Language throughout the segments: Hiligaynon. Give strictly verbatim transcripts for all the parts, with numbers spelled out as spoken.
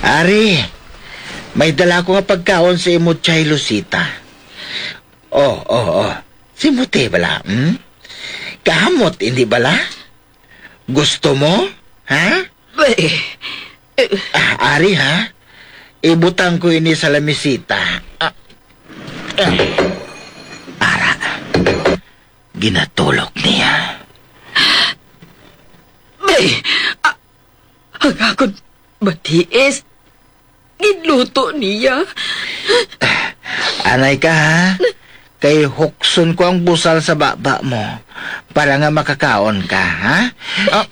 Ari, may dala ko nga pagkaon sa imo, Chay Lucita. Oh, oh, oh. Si Mute bala, hmm? Kahamot, hindi bala? Gusto mo? Ha? Bay, eh, Ah, ari, ha? Ibutang ko ini sa lamisita. Ah, ah. Ara, ginatulok niya. Bay, ah, ang akon matiis. Ginluto niya. Anay ka, ha? Kay hukson ko ang busal sa baba mo para nga makakaon ka, ha? Ah.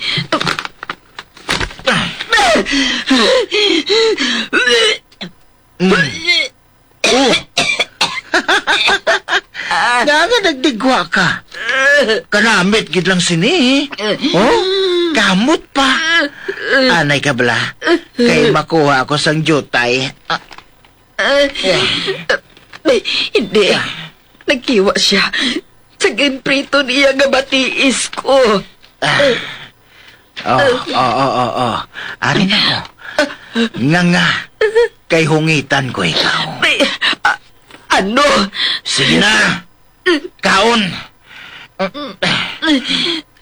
Mm. Oh. Nga nga nagdigwa ka? Kanamit gid lang sini. Oh? Kamot pa. Anay ka bala? Kay makuha ako sang jutay. Ah. Ah, eh, hindi. Nagkiwa siya sa ginprito niya nga matiis ko. Ah. Oh, oh, oh, oh, oh. Ari na, oh. Nga, nga. Kay hungitan ko ikaw. May, ah, ano? Sige na. Kaon.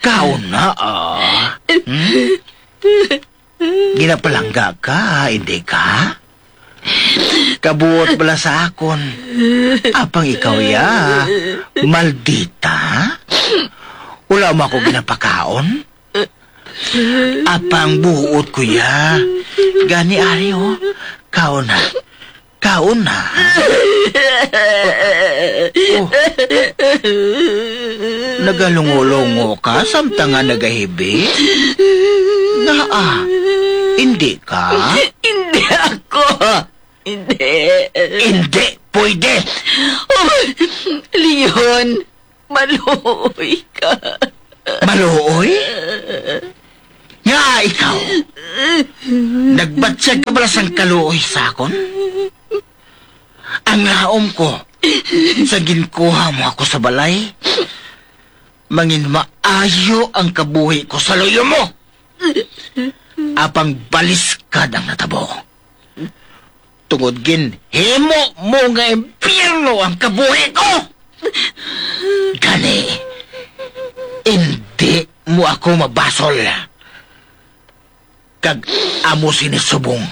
Kaon na, ah. Hmm? Ginapalangga ka, hindi ka? Kabuot bala sa akon. Apang ikaw ya, maldita? Wala mo ako ginapakaon? Apang buot ko ya. Gani ari, oh. Kaon na. Kaon na. Oh. Nagalungo-lungo ka samtang nga nagahibi? Ngaa, hindi ka? Hindi ako. Hindi. Hindi pwede. Oh, Leon, maluoy ka. Maluoy? Nga ikaw, nagbatyag ka bala sang kaluoy sa akon? Ang laom ko, sa ginkuha mo ako sa balay, mangin maayo ang kabuhi ko sa luyo mo. Apang baliskad ang natabo. Tungod ginhimo mo nga impyerno ang kabuhi ko. Gani, indi mo ako mabasol. Kag amo sini subong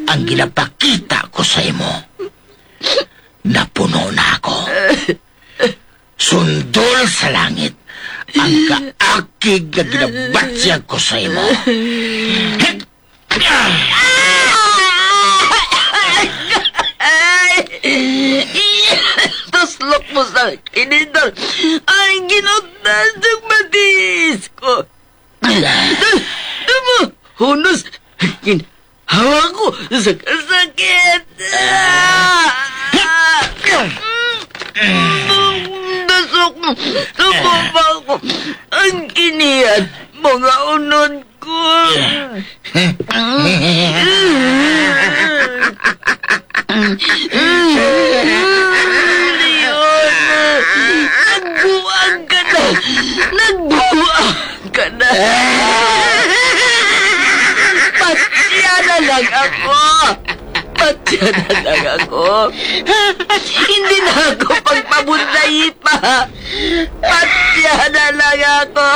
ang ginapakita ko sa imo. Napuno na ako. Sundol sa langit ang kaakig nga ginabatyag ko sa imo. Ay! Tuslok mo sa kinidor. Ay, ginutdan sang matiis ko. Hunos, ginhawa ko sa kasakit. Dasok, tumuma ko. Ang kiniat, mga unod ko. Leon, nagbuang ka na! Nagbuang ka na! Patya na lang ako! Patya na lang ako! Hindi na ako pagpabundayi pa! Patya na lang ako!